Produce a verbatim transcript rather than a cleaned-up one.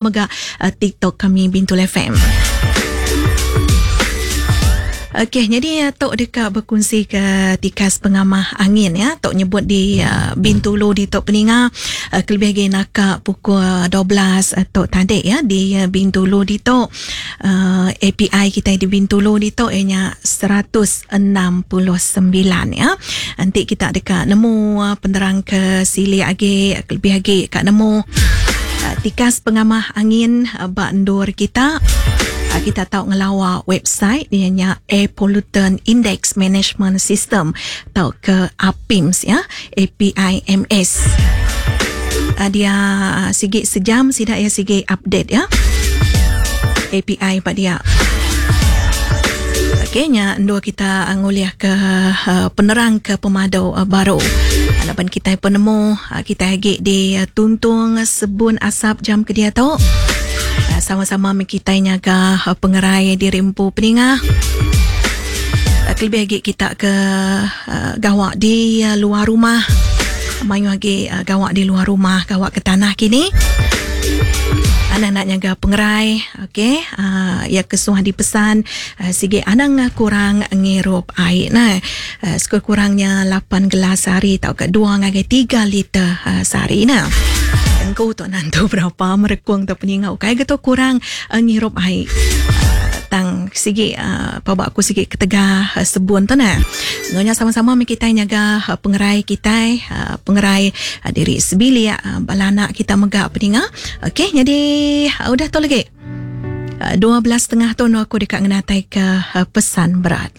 Mega uh, TikTok kami Bintulu F M. Okey, jadi tok dekat berkongsi ke tikas pengamah angin ya. Tok nyebut di uh, Bintulu di tok peninga uh, kelebih lagi nakak pukul dua belas uh, tok tadi ya di uh, Bintulu di tok uh, A P I kita di Bintulu di tok ianya seratus enam puluh sembilan ya. Nanti kita dekat nemu uh, penerang ke sili agi kelebih lagi kat nemu uh, tikas pengamah angin uh, bak ndur kita. Kita tahu ngelawa website dia nya Air Pollutant Index Management System atau ke A P I M S ya, A P I M S. Dia sikit sejam sidak ya sikit update ya. A P I pak dia. Okey nya dua kita nguliah ke uh, penerang ke pemadu uh, baru. Laban kita penemu uh, kita lagi di uh, tuntung sebun asap jam ke dia tu. Sama-sama kita nyaga pengerai diri empu peninga. Kelebih lagi kita ke gawak di luar rumah. Mayu lagi gawak di luar rumah, gawak ke tanah kini. Anak nak nyaga pengerai, okey. Uh, ya kesuah dipesan uh, sige anang kurang ngirup air nah. Uh, sekurang-kurangnya lapan gelas sehari atau ke dua ngagai tiga liter uh, sehari nah. Engkau tu nantu berapa merekung tu peningau kai geto kurang uh, ngirup air. Uh, tang sige uh, pabak aku sige ketegah uh, sebun tu nah. Ngonya sama-sama mi kita nyaga uh, pengerai kita, uh, pengerai uh, diri sebilik uh, bala anak kita megak peninga. Okey, jadi uh, udah tu lagi. Uh, dua belas setengah tu aku dekat ngenatai ke uh, pesan berat.